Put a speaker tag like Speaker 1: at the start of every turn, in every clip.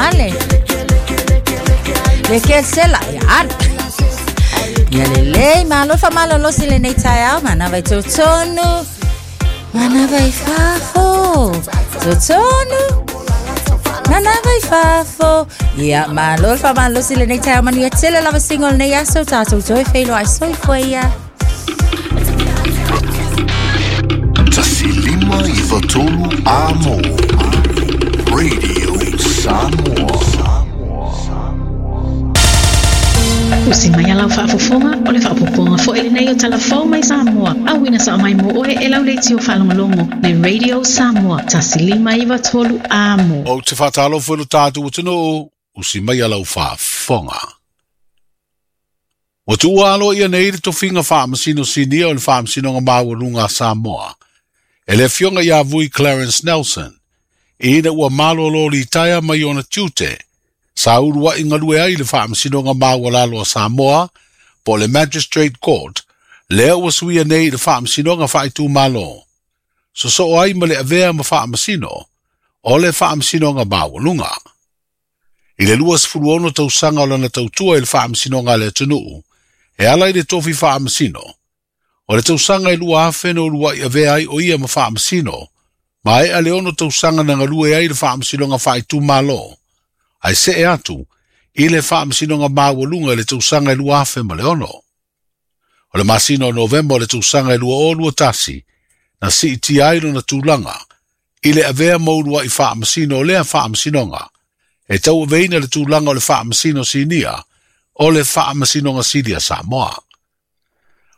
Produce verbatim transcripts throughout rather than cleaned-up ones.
Speaker 1: male. Le ke sela ya. Ia lelei malo faamalolosi lenei taeao manava i totonu. Manava i fafo. Totonu. Manava i fafo. Ia malo faamalolosi lenei taeao manuia tele lava singo o lenei aso tatou toe feiloai soifua ia.
Speaker 2: Tasi lima iwa tolu amo. Radio Samoa.
Speaker 3: Usi mai alau faafofoga o le faapopoga fo'i lenei o talafou mai Samoa. Auina sa'a mai mo oe e lau leitio faalogologo le Radio Samoa tasi lima iva tolu amo.
Speaker 4: O te whātalo lo tātou atunuu, usi mai alau faafofoga. Ua tuua alo ia nei le tofiga faamasino sinia o le faamasinoga maualuga a Samoa. E le afioga ia Vui Clarence Nelson, ina ua malolo litaea mai ona tiute, sa ulua'i galue ai le faamasinoga maualalo a Samoa, po o le Magistrate Court, lea ua suia nei le faamasinoga faaitumalo. Sosoo ai ma le avea ma faamasino, o le faamasinoga maualuga. I le lua sefulu ono tausaga o lana tautua i le faamasinoga a le atunuu, e ala i le tofi faamasino. O le tausaga i lua afe na ulua'i avea ai o ia ma faamasino, ma e a le ono tausaga na galue ai le faamasinoga faaitumalo, ai see atu i le faamasinoga maualuga i le tausaga i lua afe ma le ono. O le masina o Novema o le tausaga i lua o lua tasi, na siitia ai lona tulaga, i le avea ma ulua'i faamasino o lea faamasinoga, e tauaveina le tulaga o le faamasino sinia, o le faamasinoga sili a Samoa.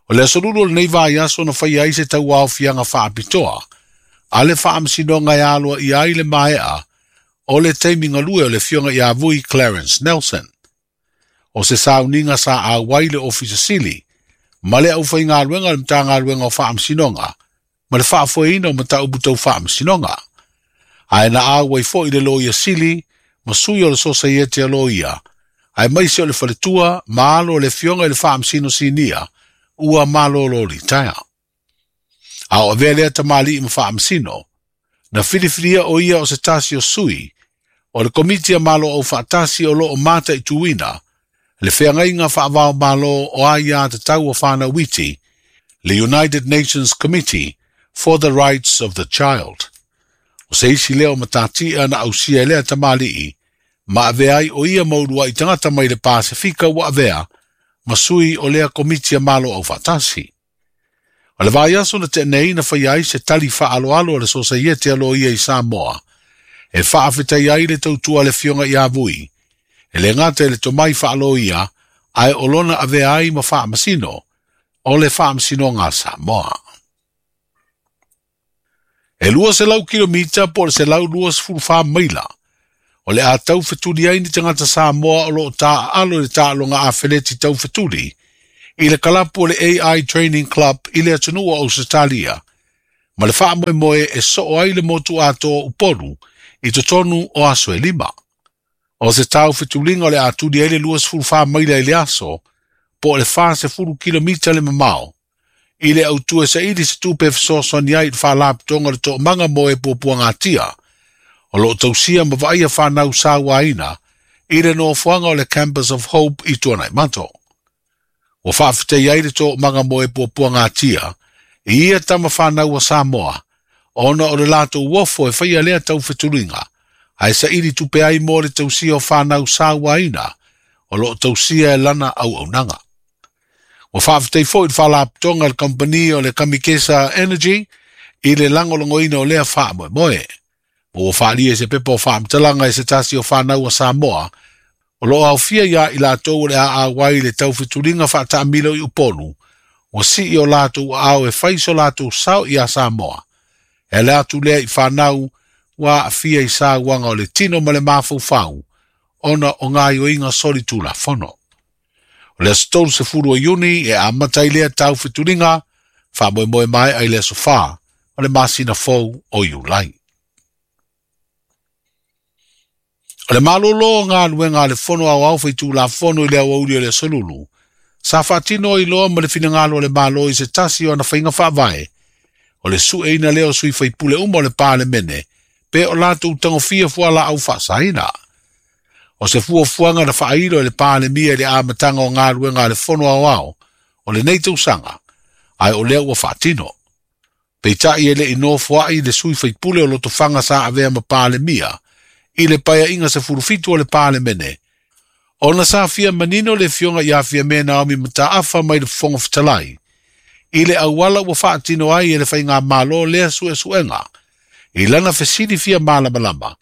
Speaker 4: O le aso lulu o lenei vaiaso na faia ai se tauaofiaga faapitoa, a le faamasinoga e aloa ia ai le maea, o le taimi galue o le afioga ia Vui Clarence Nelson. O se sauniga sa auai le ofisa sili, ma le aufaigaluega o le Matagaluega o Faamasinoga, ma le faafoeina o mataupu tau faamasinoga. Ae na auai fo'i le loia sili, ma sui o le sosaiete a loia, ae maise o le faletua, ma alo o le afioga i le faamasino sinia, ua malolo litaea. A o avea lea tamalii ma faamasino, na filifilia o ia o se tasi o sui, o le komiti a malo au faatasi o loo mata i tuina, le feagaiga faavao malo o aia tatau o whanau iti, le United Nations Committee for the Rights of the Child. O se isi leo matatia na ausia e lea tamalii, ma avea ai o ia maulua i tangata mai le Pasifika ua avea, ma sui o lea komiti a malo au faatasi. O le vaiaso na tenei na whai ai se tali whaaloalo a le sosaiete a loia i Samoa, e faafetai ai le tautua le fionga ia Vui, e le ngata e le tomai whaaloia, ae o lona avea ai ma faamasino, o le faamasinoga a Samoa. E lua selau kilomita po le selau lua sefulu wha maila, o le a taufetuli ai ni tangata Samoa o loo taaalo i le taaloga afeleti taufetuli, i le kalapu o le A I Training Club i le atunuu o Ausetalia, ma le faamoemoe e soo ai le motu atoa Upolu i totonu o aso e lima. O se taufetuliga o le atuli ai le lua sefulu wha maila i le aso, po o le wha sefulu kilomita le mamao, i le autua saili se tupe fesoasoani ai i le faalapotoga o le toomaga mo e puapuagatia, o loo tausia ma vaaia whanau sauaina i le nofoaga o le Campus of Hope i Tuanaimato. Ua faafetai ai le toomaga mo e puapuagatia, i ia tama whanau a Samoa, ona o le latou ofo e whaia lea taufetuliga, ae saili tupe ai mo le tausia o whanau sauaina, o loo tausia e lana auaunaga. Ua faafetai fo'i le faalapotoga a le kampani o le Kamikesa Energy i le lagolagoina o lea faamoemoe. Ma ua faalia i se pepa o faamatalaga e se tasi o whanau a Samoa, o loo aofia ia i latou o le aauai le taufetuliga faataamilo i Upolu, ua sii o latou aao e fai so latou sao ia Samoa. E le atu lea i whanau ua aafia i sauaga o le tino ma le mafaufau, ona o gaioiga soli tulafono. O le aso tolu sefulu o Iuni e amata i lea taufetuliga, faamoemoe maea i le aso whā o le masina fou o Iulai. O le malolo o galuega a le fono aoao faitulafono i le aoauli o le aso lulu, sa faatino ai loa ma le finagalo o le malo i se tasi o ana faiga faavae, o le sueina lea o sui faipule uma o le Palemene, pe o latou tagofia fualaau faasaina. O se fuafuaga na faailo e le Palemia i le amataga o galuega a le Fono Aoao o lenei tausaga, ae o lea ua faatino. Peitai e le'i nofoa'i le sui faipule o Lotofaga sa avea ma Palemia i le paeaiga sefulufitu o le Palemene, ona sa fia manino le afioga ia Fiame Naomi Mataafa mai le Fofoga Fetalai i le auala ua faatino ai e le faigamālō lea suesuega i lana fesili fia malamalama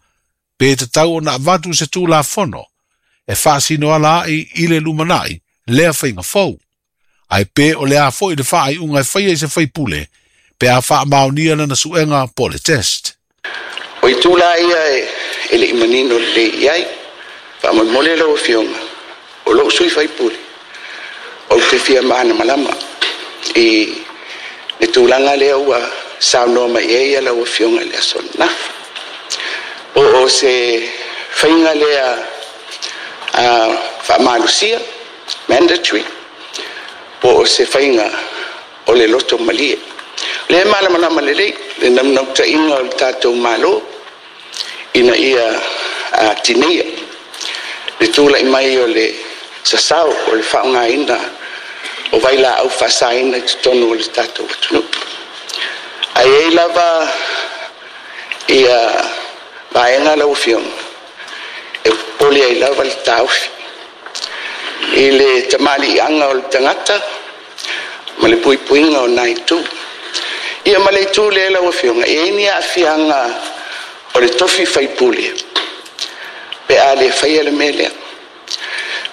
Speaker 4: pe tatau ona avatu se Tulafono e faasino ala ai i le lumana'i lea faiga fou, ae pe o le a fo'i le faaiuga e faia i se faipule pe a faamaonia lana suega po le test.
Speaker 5: O itu la ia e, e le imanino lelei i ai. Faamolemole lau afioga, o lou sui faipule, ou te fia malamalama i le tulaga lea ua saunoa mai ai ia lau afioga i le aso ananafi. Po o se faiga lea uh, faamalosia, mandatory, po o se faiga o le loto malie. O lea e malamalama lelei le naunautaiga o le tatou Malo ina ia uh, tineia le tulai mai o le sasao o le faaaogaina o vailaau faasaina i totonu o le tatou atunuu. Ae ai lava ia vaega lau afioga e popole ai lava le taofi i le tamaliiaga o le tagata ma le puipuiga o nai itu. Ia ma le itu lea lau afioga, e i ai ni aafiaga o le tofi faipule pe a le faia le mea lea.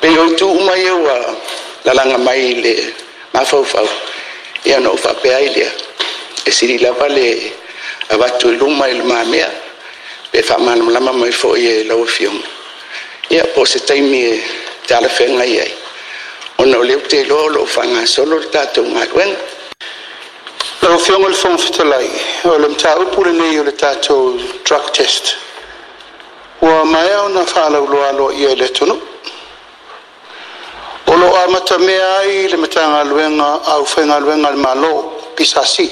Speaker 5: Pei o itu uma ia ua lalaga mai i le mafaufau, ia ona ou faapea ai lea, e sili lava le avatu i luma i le mamea pe faamalamalama mai foi e lau afioga. Ia po o se taimi e talafeagai ai, ona o lea ou te iloa o lo o faagasolo le tatou galuega.
Speaker 6: Lau Afioga i le Fofoga Fetalai, o le mataupu lenei o le tatou drug test, ua maea ona faalauloa aloaia i le atunuu. O lo o amatamea ai le Matagaluega au Faigaluega a le Malo, P S A C.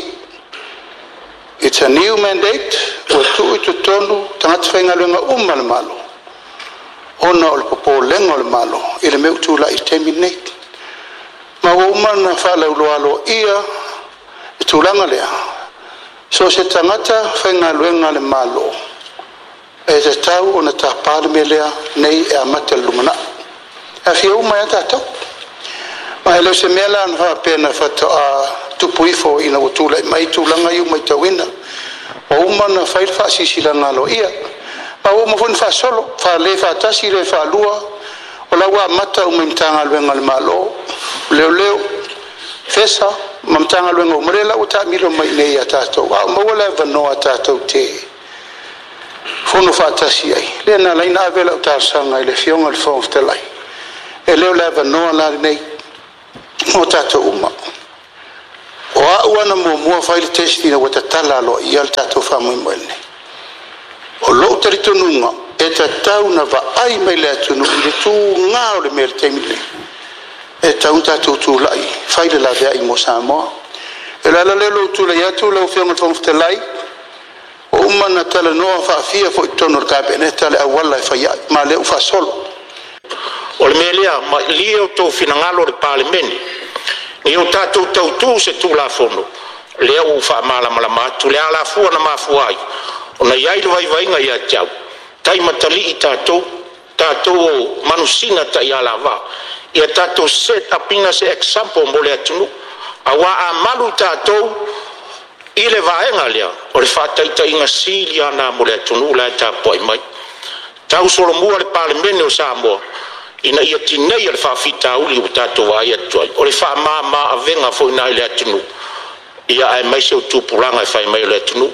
Speaker 6: It's a new mandate, ua tuu i totonu tagata faigaluega uma le Malo, ona o le popolega o le Malo i le mea ua tulai i le taimi lenei. Ma ua uma ona faalauloa aloaia le tulaga lea, so se tagata faigaluega a le Malo, e tatau ona tapa le mea lea nei e amata le lumanai. E afia uma ia tatou. Ma e le o se mea la na faapea na faatoa tupu ifo ina ua tulai mai tulaga ia ua matauina. Ua uma ona fai le faasiasilaga aloaia. Ma ua uma foi ona faasolo, faale faatasi le faalua, o la ua amata uma i Matagaluega a le Malo, leoleo, FESA, ma Matagaluega uma lea la ua taamilo mai nei ia tatou. A o maua le avanoa tatou te fono faatasi ai. Lea na ala ai na ave lau talosaga i le afioga i le Fofoga Fetalai. E le o le avanoa la lenei mo tatou uma. O au ana muamua fai le test ina ua tatala aloaia le tatou faamoemoe lenei. O lou talitonuga e tatau na vaai mai le atunuu i le tugā o le mea i le taimi lenei. E tatau ona tatou tulai fai le laveai mo Samoa. E le ala lea o lou tulai atu lau Afioga i le Fofoga Fetalai, o uma na talanoa faafia foi i totonu o le Kapeneta le auala e fai ai, ma lea ua faasolo.
Speaker 7: O le mea lea, malie o tou finagalo o le Palemene, ni o tatou tautū se Tulafono, lea ua faamalamalama atu le alafua na mafua ai, ona i ai le vaivaiga ia te au, taimatalii tatou, tatou o manusina taialavā, ia tatou set up ina se example mo le atunuu, auā a malu tatou i le vaega lea, o le faataitaiga sili ana mo le atunuu la e tapuai mai. Tau solomua le Palemene o Samoa, ina ia tineia le faafitauli ua tatou vaai atu ai. O le faamama avega foi na i le atunuu, ia ae mai se o tupulaga e fai mai o le atunuu.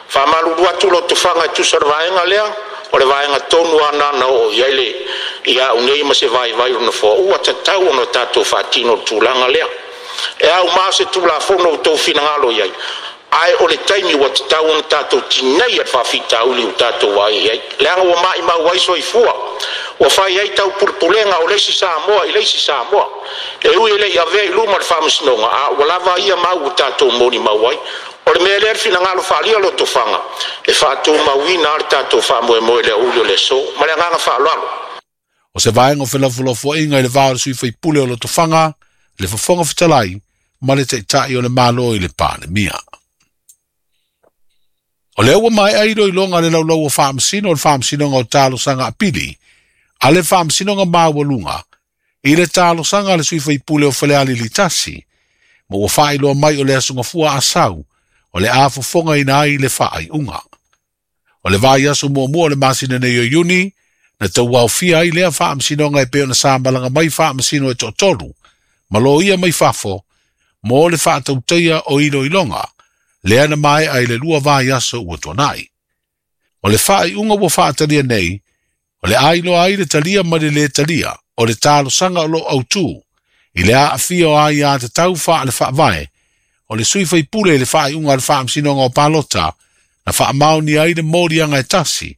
Speaker 7: Faamalulu atu lotofaga e tusa o le vaega lea, o le vaega tonu ana na oo i ai le ia au nei ma se vaivai o le nofoa, ua tatau ona tatou faatino le tulaga lea. E au ma se Tulafono o tou finagalo i ai, ae o le taimi ua tatau ona tatou tineia le faafitauli ua tatou vaai i ai. Leaga ua maimau ai soifua, ua fai ai taupulepulega o le isi Samoa i le isi Samoa. E ui e le'i avea i luma le faamasinoga, a ua lava ia mau ua tatou molimau ai. O le mea lea le finagalo faaalia lotofaga, e faatumauina lava le tatou faamoemoe i le aoauli o le aso. Ma le agaga faaaloalo.
Speaker 4: O se vaega o felafolafoaiga i le va o le sui faipule o Lotofaga, le Fofoga Fetalai ma le Taitai o le Malo i le Palemia. O lea ua maea iloiloga le laulau o faamasino o le faamasinoga o talosaga apili a le faamasinoga maualuga i le talosaga a le sui faipule o Falealili tasi, ma ua faailoa mai o le aso Gafua Asau o le a fofogaina ai le faaiuga. O le vaiaso muamua o le masina nei o Iuni, na tauaofia ai lea faamasinoga e pei ona sa malaga mai faamasino e toatolu, ma loia mai fafo, mo le faatautaia o iloiloga, lea na maea i le lua vaiaso ua tuanai. O le faaiuga ua faatalia nei, o le ailoa ai le talia ma le lē talia, o le talosaga o loo autū, i le aafia o aiatatau faale faavae, o le sui faipule i le faaiuga a le faamasinoga o palota, na faamaonia ai le moliaga e tasi,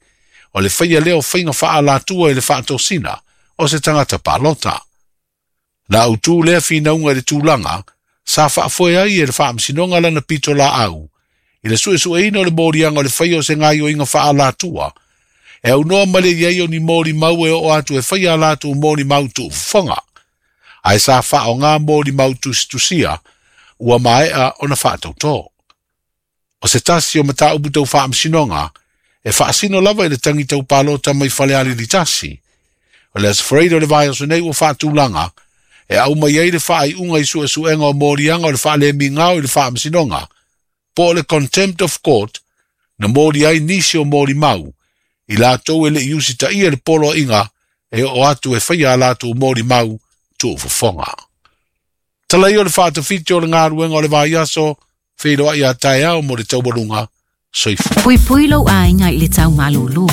Speaker 4: o le faia lea o faiga faaalatua i le faatosina o se tagata palota. Na autū lea finauga i le tulaga, sa faafoe ai e le faamasinoga lana pito laau, i le suesueina o le moliaga o le faia o se gaioiga faaalatua, e aunoa ma le iai o ni molimau e oo atu e faia a latou molimau tuufofoga, ae sa faaaogā molimau tusitusia ua maea ona faatautō. O se tasi o mataupu tau faamasinoga, e faasino lava i le tagi tau palota mai Falealili tasi. O le Aso Faraile o le vaiaso nei ua faatulaga, e aumai ai le faaiuga i suesuega o moliaga o le faalemigao i le faamasinoga, po o le contempt of court, na moli ai nisi o molimau, i latou e le i usitaia le poloaiga e oo atu e faia a latou molimau tuufofoga. Tala ia o le faatafiti o le galuega o le vaiaso, feiloai a taeao mo le taualuga soifua.
Speaker 1: Puipui lou aiga i le tau malūlū.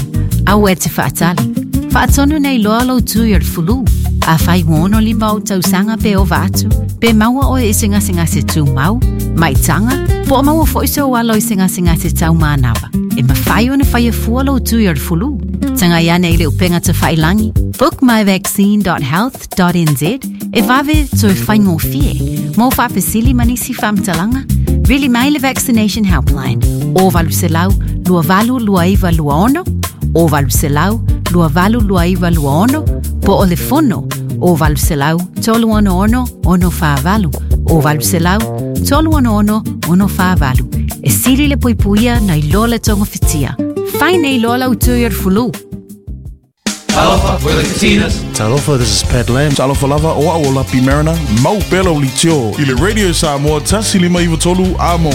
Speaker 1: Aua e te faatali. Faatonu nei loa lou tui o le fulu. Afai ua ono lima ou tausaga pe ova atu, pe maua oe i se gasegase tumau, maitaga, po o maua foi sou alo i se gasegase taumanava. E mafai ona faia fua lou tui o le fulu. Tagai ane i le upega tafailagi, bookmyvaccine dot health dot n z, e vave toe faigofie. Mo faafesili ma nisi faamatalaga, vili mai le Vaccination Helpline, o valu selau, lua valu lua iwa lua ono, o valu selau, lua valu lua iwa lua ono, po o le fono, o valu selau, tolu ono ono, ono whaavalu, o valu selau, tolu ono ono, ono whaavalu. E sili le puipuia nei loa le tonga whitia. Fai nei loa lau tui o le fulu.
Speaker 8: Talofa, we're the Katinas.
Speaker 9: Talofa, this is Pat Lam.
Speaker 10: Talofa lava, o au o Lapi Mariner. Mau pela o litio. I le Radio Samoa, tasi lima iwa tolu, amo.